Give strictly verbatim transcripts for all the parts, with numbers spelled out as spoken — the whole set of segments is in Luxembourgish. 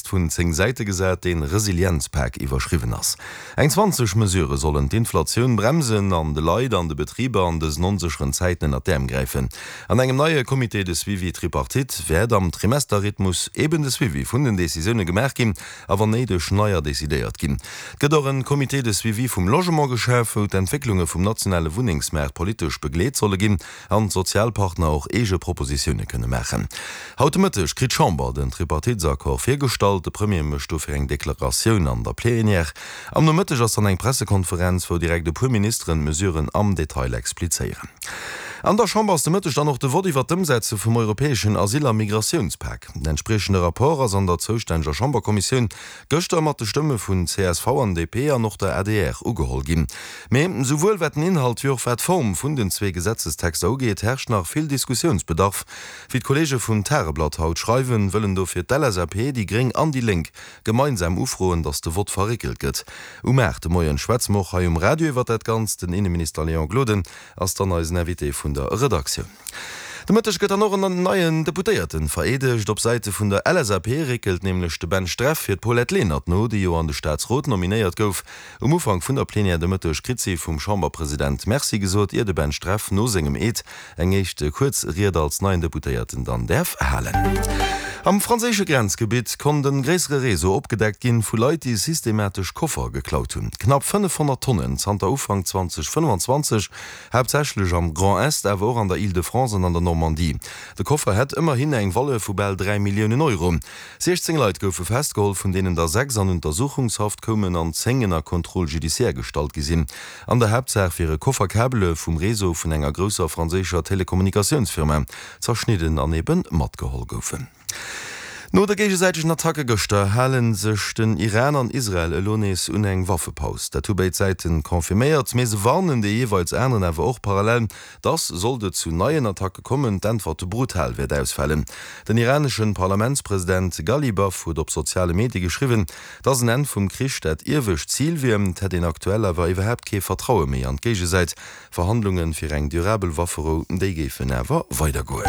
Text vun zéng Säite gesat, deen Resilienzpak iwwerschriwwen ass. Eng zwanzeg Mesurë sollen d'Inflatioun bremsen an de Leit an de Betriber an dësen onsécheren Zäiten ënnert d'Äerm gräifen. An engem neie Comité de suivi tripartite wäert am Trimesterrhythmus eben de Suivi vun den Decisioune gemaach ginn a wann néideg neier decidéiert ginn. Et gëtt och en Comité de suivi vum Logement geschaf, wou d'Entwécklunge vum nationale Wunnengsmaart politesch begleet solle ginn an d'Sozialpartner och eege Propositioune kënne maachen. Haut de Mëtteg kritt d'Chamber den Tripartitesaccord virgestallt. De Premier mécht dofir eng Deklaratioun an der Plénière. Am Nomëtteg ass dann eng Pressekonferenz, wou direkt e puer Ministeren d'Mesuren am Detail explizéieren. An der Chamber ass de Mëtteg dann och de Vott iwwert d'Ëmsetze vum europäeschen Asyl a Migratiounspak. Den entspriechende Rapport ass an der zoustänneger Chamberkommissioun gëschter mat de Stëmme vun csv an D P an och der A D R ugeholl ginn. Mee souwuel wat den Inhalt wéi och wat d'Form vun den zwee Gesetzestexter ugeet, herrscht nach vill Diskussiounsbedarf. Wéi d'Kolleege vum Tageblatt haut schreiwen, wëllen dofir d'L S A P, déi Gréng an déi Lénk gemeinsam ufroen, datt de Vott verréckelt gëtt. Um aacht de Moien schwätze mer och hei um Radio iwwert dat Ganzt. Den Inneminister Léon Gloden ass dann eisen Invité vun der Redaktioun. De Mëtteg gëtt dann och en neien Deputéierten vereedegt. Op Säite vun der L S A P réckelt nämlech de Ben Streff fir d'Paulette Lenert no, déi jo an de Staatsrot nominéiert gouf. Um Ufank vun der Plenière de Mëtteg kritt si vum Chamberpresident Merci gesot, ier de Ben Streff no sengem Eed eng éischt kuerz Ried als neien Deputéierten dann däerf halen. Am franséische Grenzgebitt konnt e gréissere Réseau opgedeckt ginn, vu Leit, déi systematesch Koffer geklaut hunn. Knapp fënnefhonnert Tonnen zanter Ufank zweedausendfënnefenzwanzeg, haaptsächlech am Grand Est, awer och an der Île-de-France an an der Normandie. De Koffer hätt ëmmerhin eng Valeur vu bal dräi Milliounen Euro. siechzéng Leit goufe festgeholl, vun deenen der sechs an Untersuchungshaft koumen an zéng ënner Contrôle judiciaire gestallt gi sinn. An der Haaptsaach wiere Kofferkabele vum Réseau vun enger grousser franséischer Telekommunikatiounsfirma zerschnidden an ebe matgeholl goufen. No de géigesäitegen Attacke gëschter hale sech den Iran an Israel elo nees un eng Waffepaus. Dat hu béid Säite confirméiert, mee se warnen dee jeeweils aneren awer och parallel, dass, sollt et zu neien Attacke kommen, d'Äntwert brutal wäert ausfalen. Den iranesche Parlamentspresident Ghalibaf huet op soziale Medie geschriwwen, dass en Enn vum Krich dat iewescht Zil wier, et hätt een aktuell awer iwwerhaapt kee Vertraue méi an d'Géigesäit. Verhandlunge fir eng durabel Wafferou, déi géifen awer weidergoen.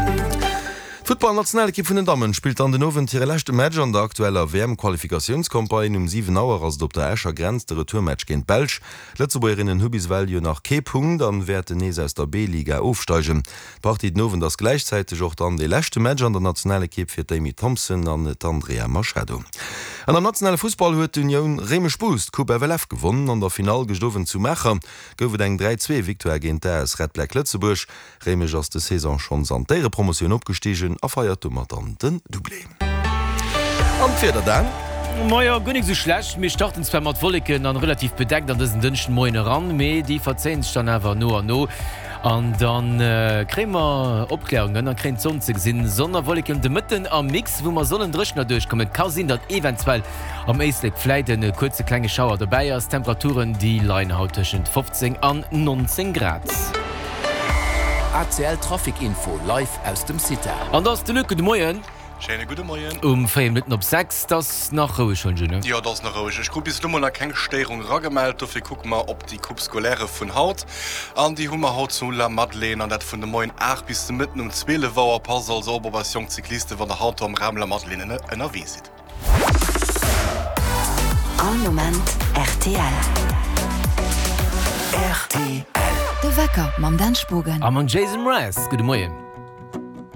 D'Futtballnationalekipp vun den Dammen spillt dann den Owend hire leschte Match an der aktueller W M-Qualifikatiounscampagne. Um siwen Auer ass et op der Escher Grenz de Retourmatch géint d'Belsch. D'Lëtzebuergerinnen hu bis ewell jo nach kee Punkt an wäerten nees aus der B-Liga ofsteigen. D'Partie den Owend ass gläichzäiteg och dann dee leschte Match an der Nationalekipp fir d'Amy Thompson an d'Andrea Machado. An am nationale Fussball huet d'Unioun Réimech-Bous d'Coupe F L F gewonnen. An der Finall gëscht Owend zu Maacher gouf et eng dräi-zwee Victoire géint d'A S Red Black Lëtzebuerg. Réimech ass des Saison schonns an d'Éierepromotioun opgestigen a feiert domat dann den Doublé. An d'Wieder dann? Majo, guer nik sou schlecht. Mir starten zwar mat Wolleken an relativ bedeckt an dësen Dënschden Moien eran, mee déi verzéien sech dann awer no an no an dann kréie mer Opklärungen an kréien d'Sonn ze gesinn. Sonn a Wolleken de Mëtten am Mix, wou mer sollen dréchen erduerchkommen. Et ka sinn, datt eventuell am Éislek vläit en kuerze klenge Schauer dobäi ass. D'Temperaturen déi leien haut tëschent fofzéng an nonzéng Grad. A C L Trafic Info live aus dem CITA. An da ass de Luc. Gudde Moien. Schéine gudde Moien. Um véier Minutten op sechs. 't ass nach roueg, hunn ech, ne? Jo, 't ass nach roueg. Ech krut bis elo mol nach keng Stéierung eragemellt. Dofir kucke mer op déi Coupe scolaire vun haut. An déi hu mer haut zu Lamadelaine, an dat vun de Moien aacht bis de Mëtten um zwielef Auer. Passt also op op eis jonk Cyclisten, wann der haut do am Raum Lamadelaine ënnerwee sidd. All Moment R T L. R T L. De Wecker mam Dan Spogen. A mam Jason Mraz. Gudde Moien.